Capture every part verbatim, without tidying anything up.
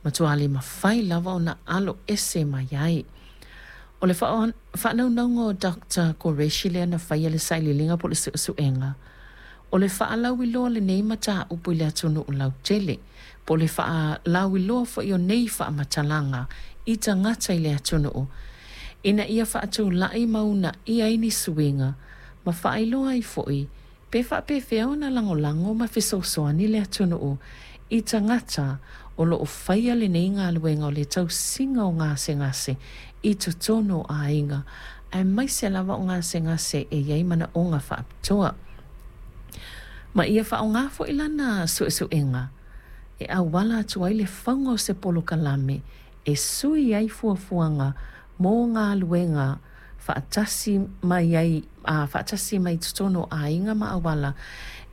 Matua le mafai lava ona alo ese mai ai. O le faanaunauga o Doctor Qureshi lea na faia le sailiiliga po o le suesuega, o le faalauiloa lenei mataupu i le atunuu lautele, po o le faalauiloa foi o nei faamatalaga i tagata i le atunuu, ina ia faatulai ma uunaia ai ni suiga, ma faailoa ai foi pe faapefea ona lagolago ma fesoasoani le atunuu i tagata o lo o faia lenei galuega o le tausiga o gasegase i totonu o aiga, aemaise lava o gasegase e i ai manaoga faapitoa. Ma ia faaaoga foi lana suesuega e auala atu ai le fauga o se polokalame e sui ai fuafuaga mo galuega faatasi mai ai a faatasi mai totonu o aiga ma auala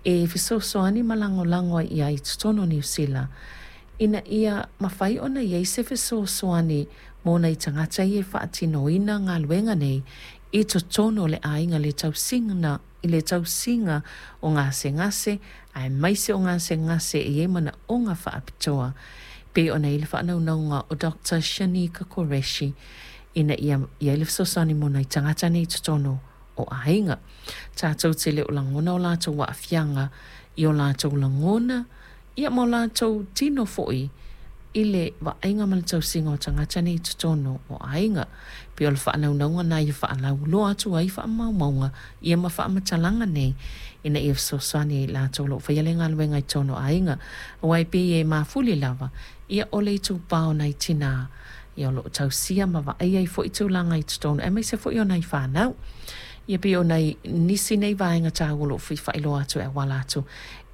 e fesoasoani ma lagolago ai i ai i totonu o Niu Sila, ina ia mafai ona i ai se fesoasoani mo nai tagata ia e faatinoina galuega nei i totonu o le aiga le tausiga, i le tausiga o gasegase, aemaise o gasegase e i ai manaoga faapitoa, pei ona i ai le faanaunauga o Doctor Shanika Qureshi ina ia i ai le fesoasoani mo nai tagata nei i totonu o aiga. Tatou te le o lagona o latou aafiaga i o latou lagona, ia ma o latou tino foi i le vaaiga ma le tausiga o tagata nei i totonu o aiga. Pei o le faanaunauga lena ia faalauiloa atu ai faamaumauga ia ma faamatalaga nei ina ia fesoasoani ai i latou o lo o faia le galuega i totonu o aiga. Aua e pei e mafuli lava, ia o le itupa o nai tinā ia o lo o tausia ma vaaia ai foi tulaga i totonu, aemaise foi o nai fanau. Ia pei o nai nisi nei vaega taua o lo o fia faailoa atu e auala atu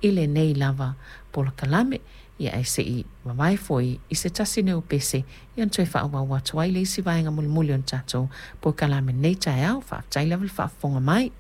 i lenei lava polokalame. Ia ae se i vavae foi i se tasi nei o pese, ia ona toe faaauau atu ai le isi vaega mulimuli o le tatou polokalame nei taeao. Faafetai lava le faafofoga mai.